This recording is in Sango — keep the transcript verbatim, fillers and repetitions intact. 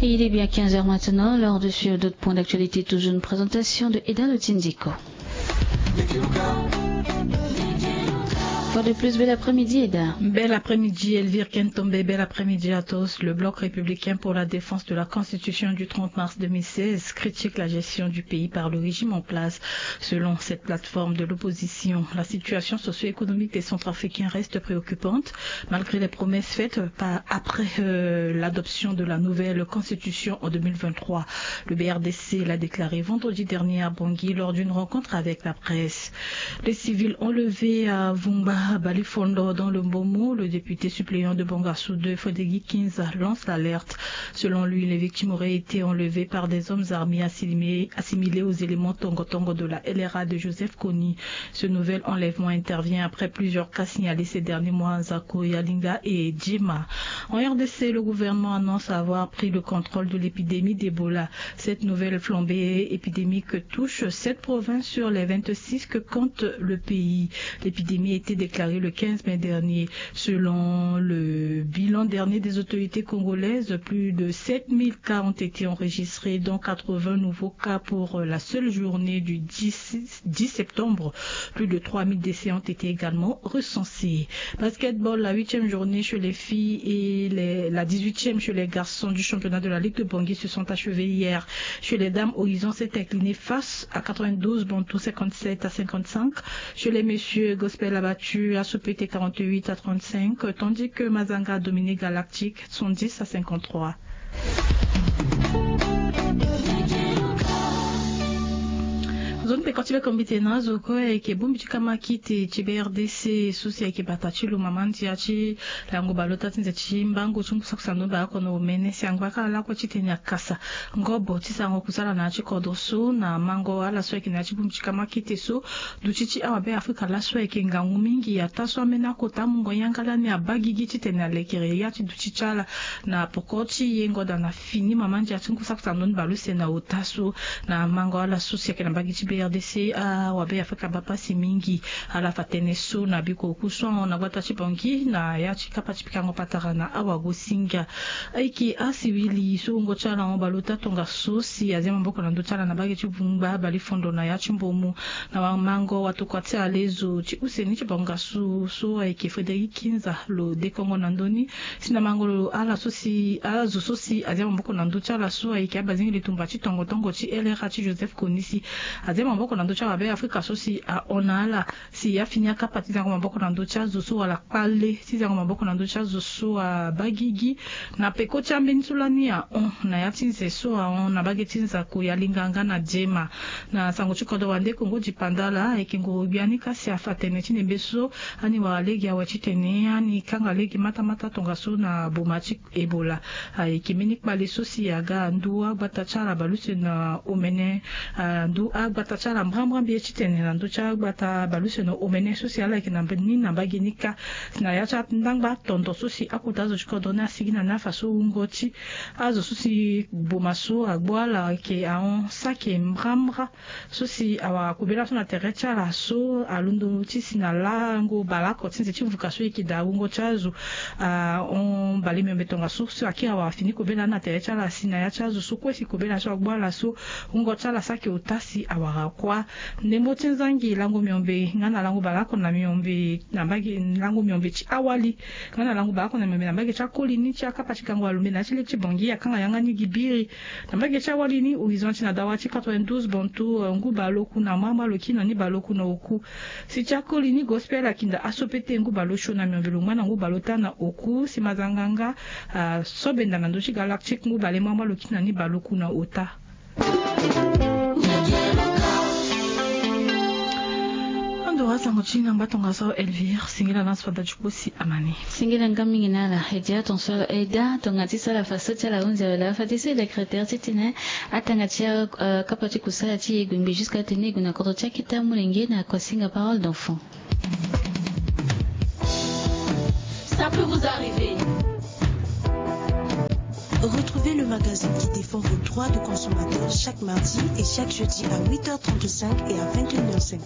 Et il est bien quinze heures maintenant, l'heure de suivre d'autres points d'actualité, toujours une présentation de Eda Lotindiko. Fois de plus, bel après-midi, Eda. Bel après-midi, Elvire Kentombe, bel après-midi à tous. Le Bloc républicain pour la défense de la Constitution du trente mars deux mille seize critique la gestion du pays par le régime en place. Selon cette plateforme de l'opposition, la situation socio-économique des Centrafricains reste préoccupante, malgré les promesses faites par, après, euh, l'adoption de la nouvelle constitution en deux mille vingt-trois. Le B R D C l'a déclaré vendredi dernier à Bangui lors d'une rencontre avec la presse. Les civils enlevés à Vumba Balifondo dans le Mbomo, le député suppléant de Bangassou deux, Frédéric Kinza, lance l'alerte. Selon lui, les victimes auraient été enlevées par des hommes armés assimilés, assimilés aux éléments tongo-tongo de la L R A de Joseph Kony. Ce nouvel enlèvement intervient après plusieurs cas signalés ces derniers mois à Nzako, Yalinga et Djema. En R D C, le gouvernement annonce avoir pris le contrôle de l'épidémie d'Ebola. Cette nouvelle flambée épidémique touche sept provinces sur les vingt-six que compte le pays. L'épidémie a été déclarée le quinze mai dernier. Selon le bilan dernier des autorités congolaises, plus de sept mille cas ont été enregistrés, dont quatre-vingts nouveaux cas pour la seule journée du dix, dix septembre. Plus de trois mille décès ont été également recensés. Basketball, la huitième journée chez les filles et les, la dix-huitième chez les garçons du championnat de la Ligue de Bangui se sont achevés hier. Chez les dames, Horizon s'est incliné face à quatre-vingt-douze Bantou, cinquante-sept à cinquante-cinq. Chez les messieurs, Gospel a battu Asopete quarante-huit à trente-cinq, tandis que Mazanga a dominé Galactique soixante-dix à cinquante-trois. Zo ni peko ti be kombi tene na azo kue ayeke bongbi ti kamakite ti B R D C so si ayeke bata ti lo mama ndia ti lango baleota ti nze ti mbango ti ngu saki sando mba oko na omene si angba kâ lakue titene akasa ngobo ti sarango kusala na ya ti kodro so na mango ala so ayeke na ya ti bongbi ti kamakite so. Duti ti awabe afrika laso ayeke ngangu mingi ataa so ambeni akota mungo yanga lani abaa gigi titene alekere ya ti duti ti ala na poko ti yengo daa na fini mama ndia ti ngu saki sando ni baleuse na ota so. Na mango ala so si ayeke na mbage ti B R D C awabe afrika baa pasi mingi. Ala fa tënë so na biko oku so ahon na gbata ti Bangui na ya ti kapa ti pikango patara na awagosinga. Ayeke asiwili so wungo ti ala ahon baleota tongaso si azia maboko na ndö ti ala na mbage ti Vumba Balifondo na ya ti Mbomo. Na wamango watokua ti alezo ti use ni ti Bangassou so ayeke Frédéric Kinza lo dekongo na ndö ni. Si na mango lo ala so si azo so si azia maboko na ndö ti ala so ayeke abazingeli tumba ti tongo tongo ti L R A ti Joseph Kony si azia maboko na ndö ti awabe afrika so si ahon na ala si afini akapa ti zango maboko na ndö ti azo so wala kpale ti zango maboko na ndö ti azo so abaa gigi. Na peko ti ambeni so lani ahon na ya ti nze so ahon na mbage ti Nzako, Yalinga nga na Djema. Na sango ti kodro wande Kongo dipanda ala ayeke ngoro gbia ni ka si afa tene ti nembe so ani wara lege awe titene ani kanga lege matamata tongaso na boma ti Ebola. Ayeke mbeni kpale so si aga ndu agbata ti ala baleuse na omene. Ndu agbata ti ala mbrambra mbi ye titene na ndö ti agbata baleuse na omene so si ala yeke na ni na mbage ni kâ. Na ya ti andangba tondo so si akota azo ti kodro ni asigi na ni afa so wungo ti azo so si boma so agbu ala ayeke ahon saki mbrambra. So si awara kobela so na tere ti ala so alondo ti si na lango baleoko ti nze ti vuka so e yeke daa wungo ti azo ahon mbale miombe tongaso so akiri awara fini kobela ni na tere ti ala si na ya ti azo so kue si kobela so agbu ala so wungo ti ala saki ota si awara kuâ. Ndembo ti nzangi lango miombe nga na lango baleoko na miombe na mbage lango miombe ti awali nga na lango baleoko na miombe na mbage ti akoli ni ti akapa ti gango alombe na ya ti lege ti Bangui akanga yanga ni gi biri. Na mbage ti awali ni Horizon ti na dawa ti quatre-vingt-douze Bantou ngu baleoku na mama lo kina ni baleoku na oku. Si ti akoli ni Gospel akinda aso pete ngu baleosio na miombe lo ngba na ngu baleota na oku si mazanga nga asobenda na ndö ti Galactique ngu balemama lo kina ni baleoku na ota. Ando asango ti na ngba tongaso Elvire singila na spada ti kpo si amani. Singila nga mingi na ala e dia ton so e da tonga ti sala fa so ti ala hunzi awela fa ti so e da créateur titene atanga ti akapa ti kusala ti e gbe ngbe jusqu'à tene e gue na kodro ti akita molenge na kosinga parole d'enfant. Ça peut vous arriver. Retrouvez le magazine qui défend vos droits de consommateur chaque mardi et chaque jeudi à huit heures trente-cinq et à vingt et une heures cinq.